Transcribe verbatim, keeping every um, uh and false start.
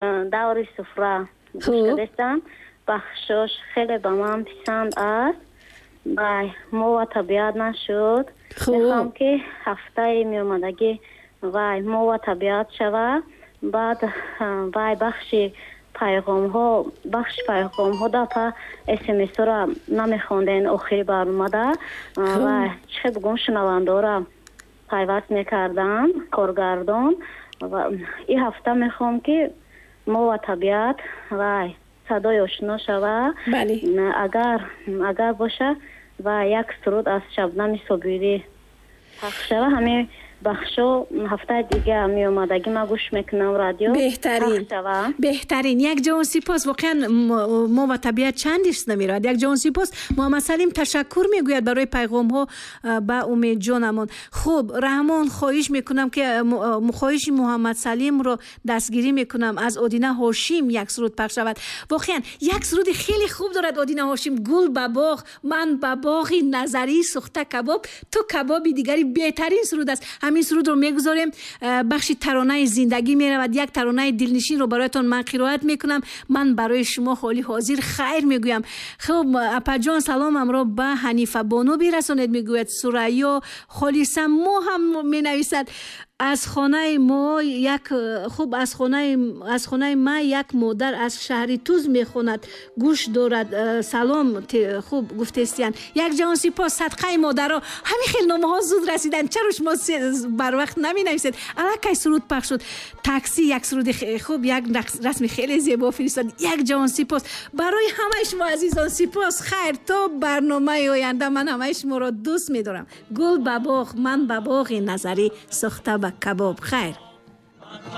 Даври суфра гӯш кардастам. Бахшош хеле ба ман писанд аст. Вай мо ва табиат нашуд. Мехоҳам ки ҳафтаи меомадагӣ вай мо ва табиат шава. Баъд вай бахши пайғомҳо, бахши пайғомҳо дафъа эсэмэсҳоро намехонден охири барномада ва чӣ бигӯм, шунавандаҳоро пайваст мекардам коргардон. Ва ин ҳафта мехоҳам ки мо ва табиат вай садои ошно шава. Агар агар боша ва як суруд аз Шабнами Собирӣ пахш шава. Ҳамин бахшо ҳафтаи дига меомадагӣ ман гӯш мекунам радио. Беҳтарин, беҳтарин. Як ҷавон сипос. Воқеан мо ва табиат чандиш намеравад. Як ҷавон сипос. Муҳаммад Салим ташаккур мегӯяд барои пайғомҳо ба Умедҷонамон. Хуб, Раҳмон, хоҳиш мекунам ки хоҳиши Муҳаммад Салимро дастгирӣ мекунам. Аз Одина Ҳошим як суруд пахш шавад. Воқеан як суруди хеле хуб дорад Одина Ҳошим. Гул ба боғ, ман ба боғи назарӣ сӯхта кабоб, ту кабоби дигари, беҳтарин суруд аст. Ҳамин сурудро мегузорем. Бахши таронаи зиндагӣ меравад. Як таронаи дилнишинро бароятон ман қироат мекунам. Ман барои шумо ҳоли ҳозир хайр мегӯям. Хуб, апаҷон, саломамро ба Ҳанифа Бону бирасонед, мегӯяд Сурайё Холиса. Мо ҳам менависад аз хонаи мо як, хуб, аз хонаи аз хонаи ма як модар аз шаҳри Туз мехонад, гӯш дорад. Салом, хуб гуфтестиян. Як ҷавон сипос. Садқаи модаро. Ҳамин хел номаҳо зуд расиданд. Чаро шумо барвақт наменависед? Аллакай суруд пахш шуд. Такси як суруди хуб, як расми хеле зебо фиристод. Як ҷавон сипос. Барои ҳамаи шумо азизон сипос. Хайр, то барномаи оянда. Ман ҳамаи шуморо дӯст медорам. Гул ба боғ, ман ба боғи назарӣ сӯхта ба кабоб. Хайр.